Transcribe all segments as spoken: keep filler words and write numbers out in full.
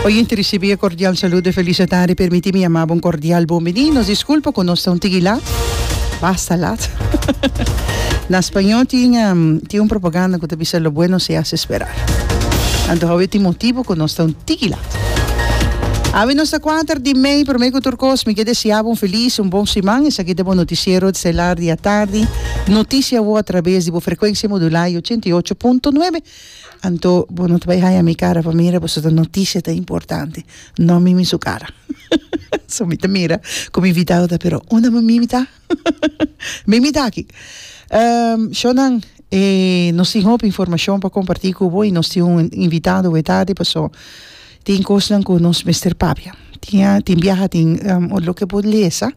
Oyente, ricibi e cordial saludo y feliz tarde. Permiti mi yama un cordial bon bini. Nos disculpa cu nos ta un tiki laat. Basta laat. Na spañó tin, um, tin un propaganda cu ta bisa "Lo bueno se hace esperar". Anto awe tin motibo cu nos ta un tiki laat. Awe nos ta kuater di mei. Prome cu tur cos, mi kier desea un feliz, un bon siman. Esaki ta e noticiero estelar di atardi. Noticia a traves di frecuencia modula ochenta i ocho punto nuebe. Anto, bo no ta bay haya mi cara pa mira, pasobra e noticia ta importante. No mi su cara. So mi ta mira como invitado ta, pero unda mi ta? Mi ta aki. Um, Shonan, eh, nos tin hopi informacion pa comparti cu bo y nos tin un invitado e tardi, paso tin cos cu nos mester papia. Tin, tin biaha, tin um, loke bo lesa,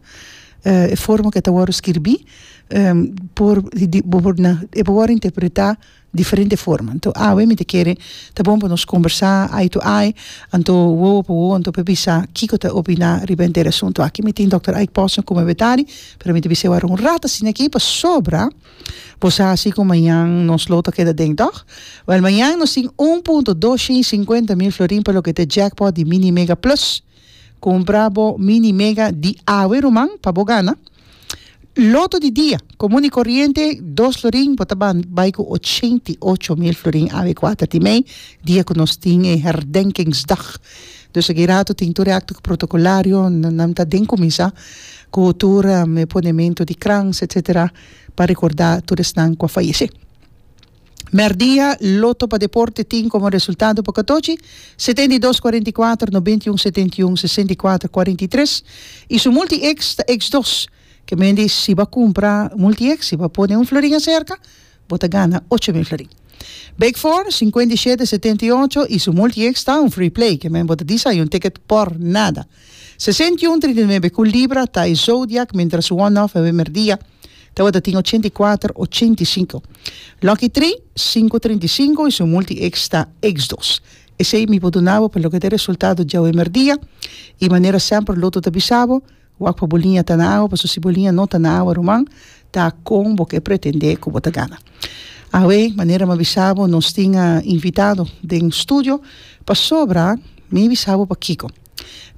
uh, e forma cu ta wordo skirbi, um, por, di, por, na, e por interpreta diferente forma. Anto, ah, mi ta kere, ta bon pa nos combersa eye to eye, anto wowo pa wowo, anto pa bisa kiko ta opina riba e asunto. Aki mi tin Doctor Ike Posner como betari, pero mi ta bisa un rato asina aki pasobra, bo sa cu mañan nos Lotto keda den, toch? Wel, mañan nos tin un punto dos cincuenta mil florin pa loke ta jackpot di Mini Mega Plus. Cumpra bo Mini Mega di awe, ruman, pa bo gana. Lotto di dia, comun y coriente, dos florin, bo ta bay cu ochenta i ocho mil florin awe kuater di mei, dia cu nos tin herdenkingsdag. Dus aki rato tin tur acto protocolario, nan ta den cuminsa, cu tur um, ponemento di krans, et cetera, pa recorda tur esnan cu a fayece. Merdia, Lotto pa Deporte tin como resultado pa catochi, setenta i dos, cuarenta i cuater, noventa i un, setenta i un, sesenta i cuater, cuarenta i tres y su multi-X ta X dos. Kiermen si bo cumpra multi-X, si bo pone un florin cerca, bo ta gana ocho mil florin. Big Four, cincuenta i siete, setenta i ocho y su multi-X ta un free play, kiermen bo ta disa un ticket por nada. sesenta i un, trinta i nuebe cu Libra, ta e Zodiac, mientras one-off e merdia, tabata tin ochenta i cuater, ochenta i cinco. Lucky tres, cinco trinta i cinco y su multi-X ta X dos. Esey mi por duna bo pa loke ta resultado di merdia. Y manera semper Lotto ta bisa bo, wak pa bo liña ta na awa, paso si bo liña no ta na awa, ruman, ta con bo kier pretende cu bo ta gana? Awe, manera m'a bisa bo, nos tin invitado den studio, pasobra, mi bisa bo pakico.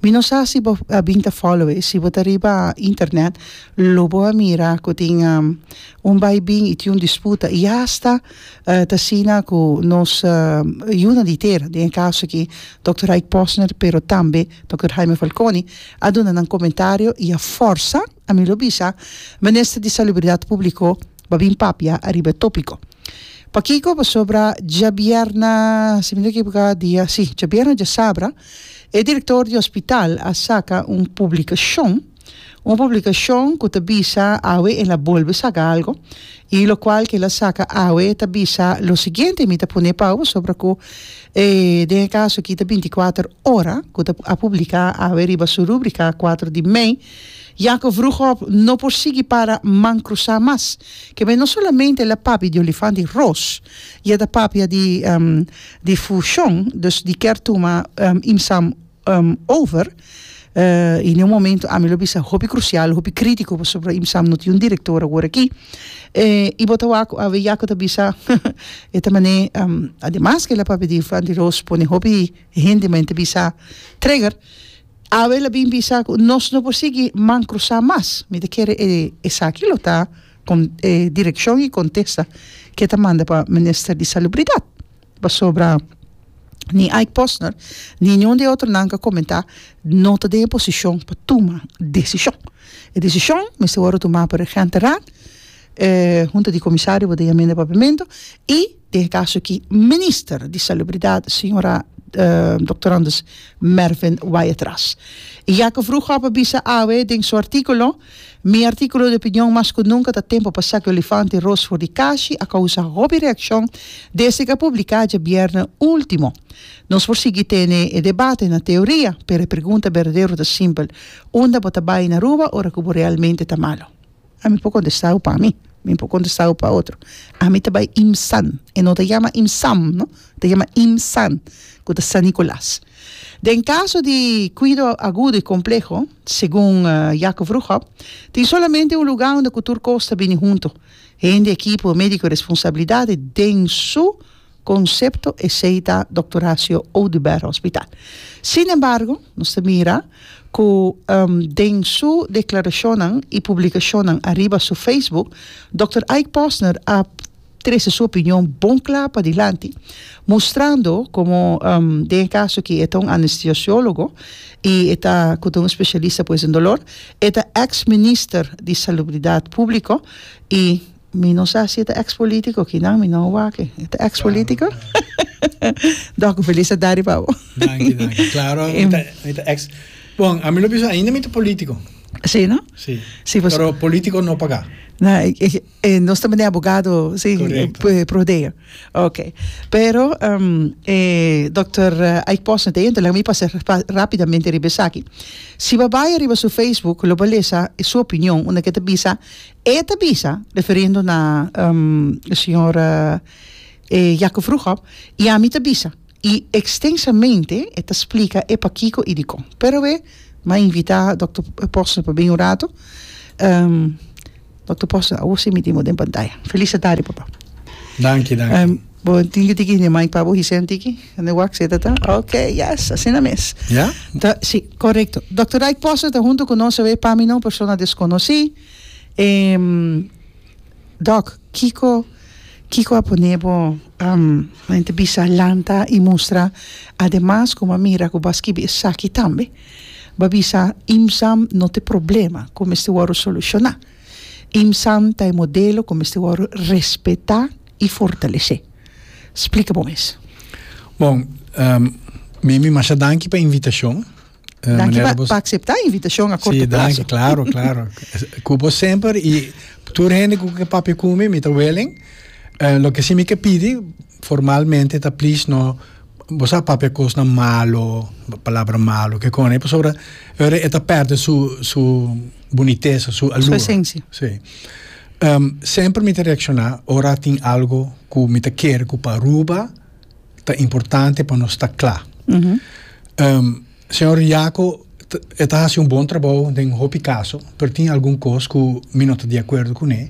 Mi no sa si bo a bin ta follow, si bo ta riba internet, lo bo a mira cu tin um, un bay bin y tin un disputa y hasta uh, ta asina cu nos uh, yiunan di tera, den caso aki Doctor Ike Posner, pero tambe Doctor Jaime Falconi, a duna un comentario y a forsa, ami lo bisa, Minister di Salubridad Publico, pa bin papia ariba topico. Pakico? Pasobra diabierna, si mi no ekivoca, dia, si, diabierna, diasabra, e director di hospital a saca un publicacion, un publicacion cu ta bisa awe, el a bolbe saca algo, y locual cu el a saca awe ta bisa lo siguiente, mi ta pone pa pasobra cu eh, den caso aki ta binticuater Ora, cu a publica awe riba su rubrica kuater di mei: "Jacob Vroegop no por sigui para man crusa mas". Kiermen no solamente el a papia di olifante ros, e ta papia di, um, di fusion, dus di kier tuma um, ImSam um, over, uh, y na un momento ami lo bisa hopi crucial, hopi critico, pasobra ImSam no tin un director awor aki. Eh, y bo ta wak awe Jacob ta bisa e ta mane um, ademas cu el a papia di olifante ros, pone hopi hende mente bisa trigger. Awe el a bin bisa nos no por sigui man crusa mas. Mi ta kere eh, esaki lo ta cu eh, direccion y contesta cu e ta manda pa Minister di Salubridad. Pasobra ni Ike Posner, ni ningun di otronan a comenta, no ta den posicion pa tuma decision. E decision mester wordo tuma pa Regentenraad, eh, hunta di comisario di amenda papiamento y den caso aki Minister di Salubridad, señora uh, Doctor Anders Mervin Wyatt-Ras. Y Jacob Vroegop a bisa awe den su articulo: "Mi articulo di opinion 'Mas cu nunca ta tempo pa saca olifante ros for di kashi' a causa hopi reaccion desde cu a publica diabierna ultimo. Nos por sigui tene e debate na teoria, pero e pregunta berdadero ta simpel: unda bo ta bay na Aruba ora cu realmente ta malo?" Ami por contesta pa mi, mi por contesta pa otro. Ami ta bay ImSan, e no ta yama ImSam, no? Ta yama ImSan, cu ta San Nicolas. Den caso di cuido agudo y compleho, segun uh, Jacob Vroegop, tin solamente un luga unda tur cos ta bini hunto. Hende, ekipo medico, responsabilidad den su Concepto esey ta Dòkter Horacio Oduber Hospital. Sin embargo, nos ta mira cu den su declaracionnan y publicacionnan ariba su Facebook, Dòkter Ike Posner a trece su opinion bon cla padilanti, mustrando como den e caso aki e ta un anestesiologo y e ta cu ta un specialista pues den dolor, e ta ex minister di Salubridad Publico y mi no sa si e ta ex politico, kinan mi no a wak e. E ta ex politico? Dòk, un felis tardi pa bo. Danki, danki. Claro, mi ta, mi ta ex. Bon, ami lo bisa ainda mi ta politico. Sí, no? Sí. Sí, pues. Pero politico no pagá. Na, e, e, e, nos ta mene abogado, sí, Correcto. eh, prodeo. Ok. Pero, um, eh, dokter Ike Posner te entra, laga mi pasa pa, rapidamente riba esaki. Si bo bai riba su Facebook, lo bo lesa su opinion, unda ke ta bisa, e ta bisa, referiendo na um, señor eh, Jacob Vroegop, y ami ta bisa, y extensamente e ta splica e pakiko y dikon. Pero e, m'a invita dokter Posner pa bin un rato. Um, dokter Posner, awo si mi tin bo den pantaya. Feliz tardi, papa. Danki, danki. Um, bo tin ki tiki ne mic pa bo hise un tiki? Ne wak seta ta? Ok, yes, asina mes. Ja? Ta, si, correcto. Dokter Ike Posner ta hunto cu nos awe, pa mi no persona desconoci. Em, Doc, kiko, kiko a pone bo, um, men te bisa lanta y mustra, ademas como a mira cu bo a skibi esaki tambe, bo a bisa ImSan no te problema cu mester worde soluciona. ImSan ta e modelo cu mester worde respeta y fortalece. Splica bo mes. Bon, um, Mimi, masha danki pa invitacion. Eh, Danki manera pa, bos pa acepta e invitacion a corto Sí, danki, plazo. claro, claro. Cubo semper y tur hende cu ke papia cu mi, mi ta willing. Eh, lo que sí mi ke pidi formalmente ta please no, bo sa papia cosnan malo, palabra malo, ke con, pasobra ora e ta perde su, su boniteza, su Su allure. esencia. Sí. Em, semper mi ta reacciona ora tin algo cu mi ta kere cu pa Aruba ta importante pa nos ta cla. Mhm. Em, señor Jaco, t-, e ta haci un bon trabou den hopi caso, pero tin algun cos cu mi no ta di acuerdo cu ne.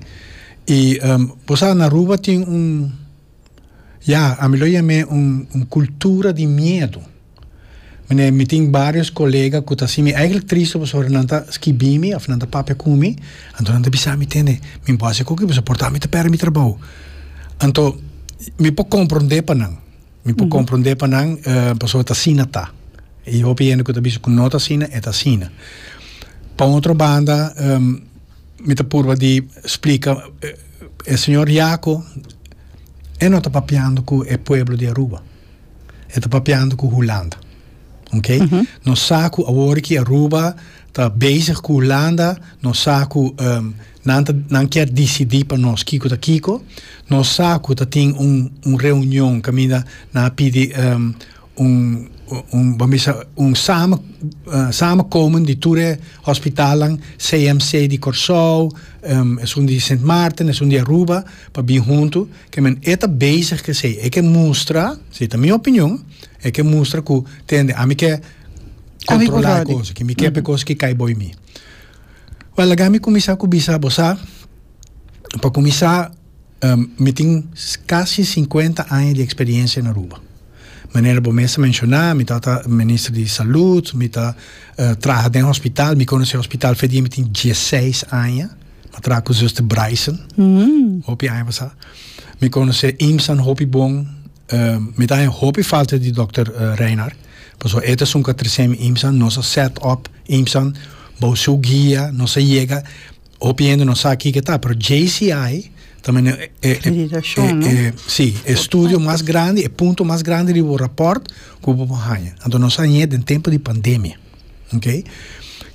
Y, em, bo sa, na Aruba tin un, ja, a mi lo yam'é un, un cultura di miedo. Mene, mi tin varios colega cu ta así, mi eigenlijk triste pasobra nan ta skibi mi, of nan ta papia cu mi, anto nan ta bisa mi, tende, mi bo haci koki, pasobra por ta mi ta perde mi trabou. Anto, mi por comprende pa nan. Mi por Mhm. comprende pa nan, eh, pasobra ta asina ta. Y hopi hende cu ta bisa cu no ta asina, e ta asina. Pa otro banda, ehm, mi ta purba di splica, eh, el señor Jaco, e no ta papiando cu e pueblo di Aruba. E ta papiando cu Hulanda. Ok? Mhm. Nos sa cu awor ki Aruba ta bezig cu Hulanda, nos sa cu, ehm, nan ta, nan kier decidi pa nos kiko ta kiko. Nos sa cu ta tin un, un reunion caminda na pidi, ehm, un, un, ban bisa, un samen, eh, samenkomen di tur e hospitalan, C M C di Curaçao, ehm, es un di Sint Maarten, es un di Aruba, pa bin junto, ke men e ta bezig ke sei, e ke mustra, si ta mi opinion, e ke mustra ku tende, a mi ke A mi controlar por cosa, ke mi ke Mhm. cosa ke kai boi mi. Wel, laga mi kumisa ku bisa, bo sa, pa kumisa, ehm, mi tin casi cincuenta años di experiencia in Aruba. Manera bo mes a menciona, mi tata minister di salud, mi ta, eh, traha den hospital, mi conoce hospital fe di mi tin diesseis años, ma traha cu zuster Bryson, Mm. hopi aña pasa. Mi conoce ImSan hopi bon, eh, mi ta hopi falta di dokter, eh, Reinhard, paso e ta sunka tresem ImSan, nos a set up ImSan, bou su guia, nos a llega, hopi hende no sa ki ta, pero J C I también, eh, eh, Acreditación, eh, ¿no? eh, sí, estudio más grande, el punto más grande de rapport que hubo haña. Entonces nos haña en tiempo de pandemia, ¿ok?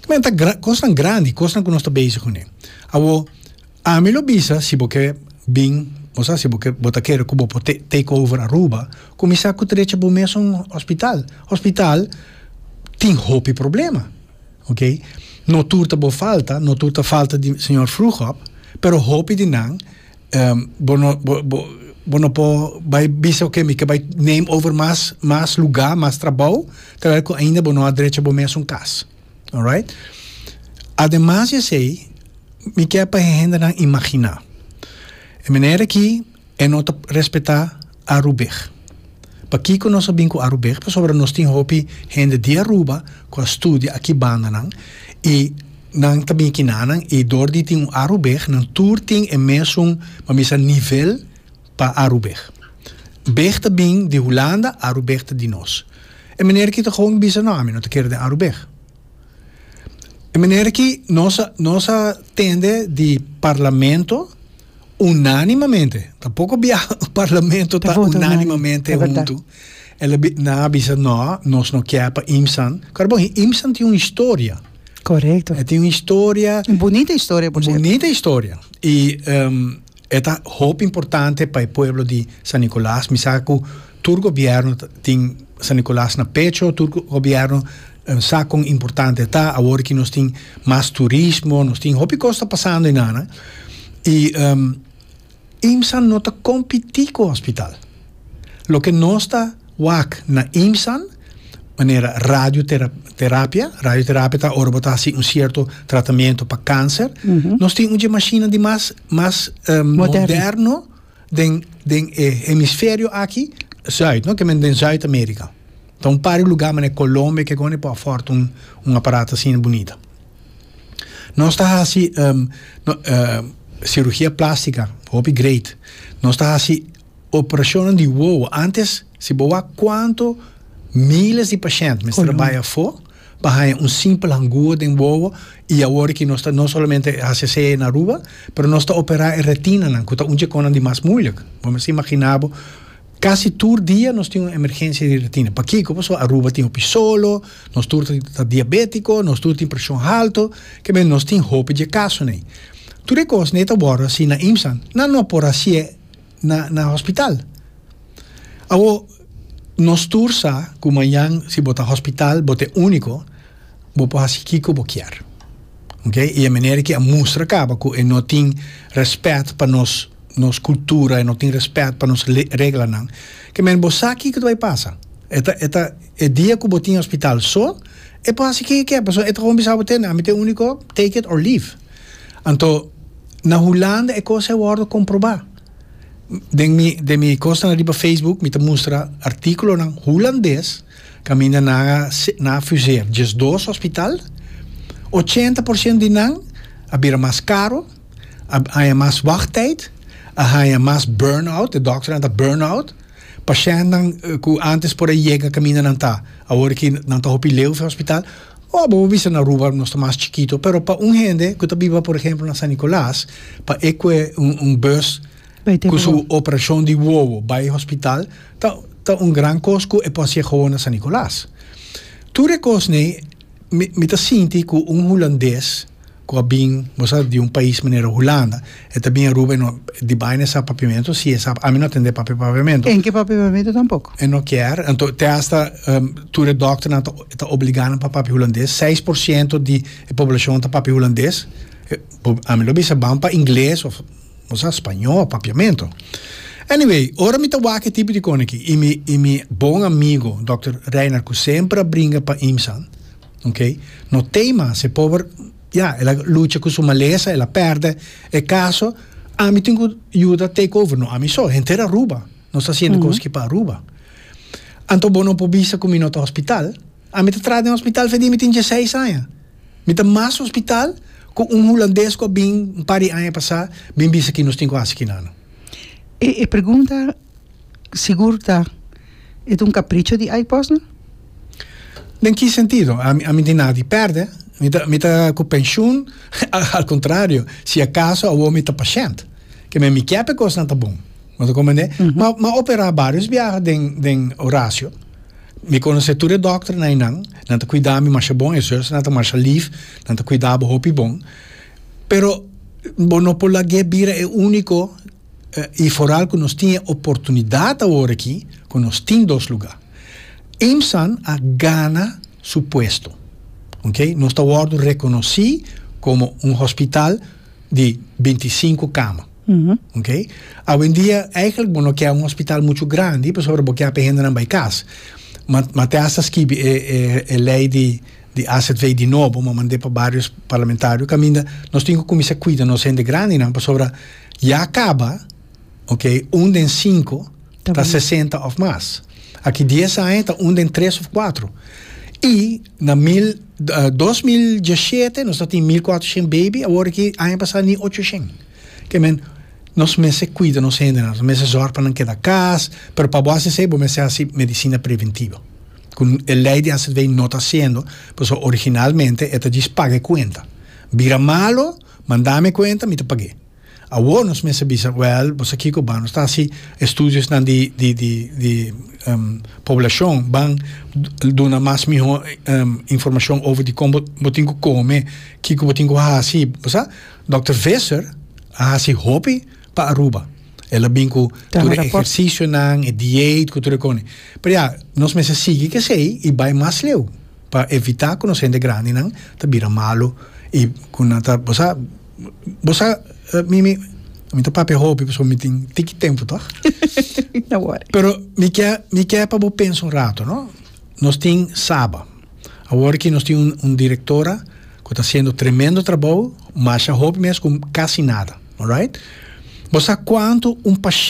Men ta gra-, cosas grande, cosas que no está bezig con él. Awo, a mí lo bisa, si porque bin, o sea, si porque bota quiere que bo te-, take over Aruba, comienza ku trecha bo mes un hospital. Hospital tin hopi problema, ¿ok? No turta bo falta, no turta falta di señor Vroegop, pero hopi di nang, ehm, bo no, bo, bo, bo no po bai bisa, ok, mi ke bai name over mas, mas lugar, mas trabalho, terwijl ku ainda bo no adrecha bo mes un cas. All right? Además, eu sei, mi ke pa hende nan imagina. E manera ki e no ta respeta Arubig. Pakico nos a bin cu Arubig? Pasobra nos tin hopi hende di Aruba cu a studia aki bandanan y nan ta bin akinanan y door di tin un Arubig, nan tur tin e mesun, ban bisa, nivel pa Arubig. Big ta bin di Hulanda, Arubig ta di nos. E meneer aki ta gewoon bisa: "No, ami no ta kere den Arubig." E meneer aki nos a, nos a tende di parlamento unanimamente. Tampoco bia parlamento Ta ta vota unanimamente unánime, ta berdad. Hunto. El a bi- nan a bisa: "No, nos no kier pa IMSAN." Claro, bon, IMSAN tin un historia. Correcto. E tin un historia. Un bunita historia, por cierto. Bunita historia. Y um, ta hopi importante pa e pueblo di San Nicolas. Mi sa cu tur gobierno tin San Nicolas na pecho, tur gobierno um, sa con importante ta. Awor cu nos tin mas turismo, nos tin hopi cos ta pasando eynan. Y um, IMSAN no ta competi cu hospital. Loke nos ta wak na IMSAN, manera radioterapia, radioterapia ta ora bo ta haci un cierto tratamento pa cancer. Uhum. Nos tin un machine di mas mas um, Moderno. Moderno den den eh, hemisferio aki, zuid, no? Kiermen den Zuid Amerika. Anto, un par di lugar, na Colombia, cu awor por afford un, un aparato asina bunita. Nos ta haci um, no, uh, cirugia plastica, hopi great. Nos ta haci operacion di wowo. Antes, si bo wak cuanto miles di pashent mester Colombia. bay afo pa un simpel angua den wowo y awor cu nos ta no solamente haci na Aruba, pero nos ta opera e retina nan, cu ta un cos di mas moeilijk. Ban imagina bo, casi tur dia nos tin un emergencia di retina. Pakico? Pasobra Aruba tin hopi solo, nos tur ta diabetico, nos tur tin presion halto, kiermen nos tin hopi di caso ne. Tur e cos nan ta wordo haci na IMSAN, nan no por haci na na hospital. Awo nos tur sa cu mañan si bo ta hospital, bo ta unico, bo por haci kico bo kier. Ok? Y e manera cu a mustra caba cu e no tin respet pa nos nos cultura, e no tin respet pa nos reglanan. Kiermen bo sa kico ta bay pasa. E ta e ta e dia cu bo tin hospital so, e por haci kico kier, paso e ta gewoon bisa bo tin, ami ta unico, take it or leave. Anto na Hulanda e cos a wordo comproba. Den mi den mi cos riba Facebook mi ta mustra articulonan hulandes caminda nan a nan a fuseer diesdos hospital, ochenta porciento di nan a bira mas caro, a haya mas wachttijd, a haya mas burn-out, de dokter ta burn-out, pashentnan cu antes por a yega caminda nan ta, awor cu nan ta hopi leu hospital. Oh, bo bisa na Aruba nos ta mas chikito, pero pa un hende cu ta biba, por ehempel, na San Nicolas, pa e coy un, un bus cu su operacion di wowo bay hospital, ta, ta un gran cos cu e por gewoon na San Nicolas. Tur e cos ne, mi, mi ta sinti cu un hulandes cu a bin, bo di un pais manera Hulanda, e tambe Aruba no, di baina sa papiamento, si sa, ami no ta tende papia papiamento. E no papia papiamento tampoco. E no kier, anto te hasta um, tur dokter ta, ta obliga pa papia hulandes, seis porciento di poblacion ta papia hulandes. Ami lo bisa ban pa ingles of of spaño, papiamento. Anyway, ora mi ta wak e tipo di cos aki y mi y mi bon amigo, Doctor Reiner, cu semper a bringa pa IMSAN, ok? No tema, e pober, ja, el a lucha cu su malesa, el a perde e caso, ami tin cu yuda take over, no, ami so, henter Aruba, nos ta haciendo mm -hmm. cos pa Aruba. Anto bo no por bisa cu mi no ta hospital, ami ta traha den hospital for di mi tin diesseis aña. Mi ta mas hospital cu un hulandes cu bin un par di aña pasa, bin bisa cu nos tin cu haci no. E, e pregunta sigur ta, e un capricho di iPos, no? Den ki sentido? Ami, ami tin nada di perde. Mi ta, mi ta cu pensioen, al contrario, si acaso awor mi ta pashent. Kiermen mi kier cos nan ta bon. Mas como ne? Mm -hmm. Ma m'a opera varios biaha den den Horacio. Mi conoce tur e dokter na nan, nan ta cuida mi masha bon, e zus nan ta masha lief, nan ta cuida bo hopi bon. Pero bo no por lag'e bira e unico eh, y vooral cu nos tin oportunidad awor aki, cu nos tin dos lugar. IMSAN a gana su puesto. Ok? Nos ta reconoci como un hospital di binticinco cama. Uhum. Ok? Awendia, eigenlijk, bo no kier un hospital mucho grandi, pasobra bo kier pa hende nan bay cas. Ma, ma te hasta skibi e, e, e ley di, di A Z V di nobo, m'a manda pa varios parlamentario, caminda, nos tin cu cuminsa cuida nos hende grandi, no, pasobra ya caba, ok, un den cinco Ta sesenta of mas. Aki dies aña ta un den tres of cuater. Y na mil, uh, dos mil diesshete nos tin mil cuatershen baby, awor aki aña pasa ni ochocientos. Kemen, nos mester cuida nos hende, nos mester zorg pa nan keda cas, pero pa bo haci, bo mester haci medicina preventivo. Cu e ley di A Z V no ta haciendo, pues originalmente e ta djis paga cuenta. Bira malo, manda mi cuenta, mi ta pag'e. Awor nos mester bisa, well, bo kico, ban, ta haci estudionan di di di di um, poblacion, ban duna mas miho um, informacion over di con bo tin cu come, kico bo tin cu haci, bo sa? Doctor Visser a haci hopi pa Aruba. El a bin cu tur ehercicionan, e dieet, cu tur cos. Pero ja, nos mester sigui cu esey y bay mas leu pa evita cu nos hende grandinan ta bira malo y cu nan ta, bo sa, bo sa, mi mi mi ta papia hopi, pasobra mi tin tiki tempo, toch? No worry. Pero mi kier mi kier pa bo pensa un rato, no? Nos tin SABA. Awor cu nos tin un, un directora cu ta haciendo tremendo trabou, mas hopi mes cu casi nada, alright? Bo sa cuanto un paciente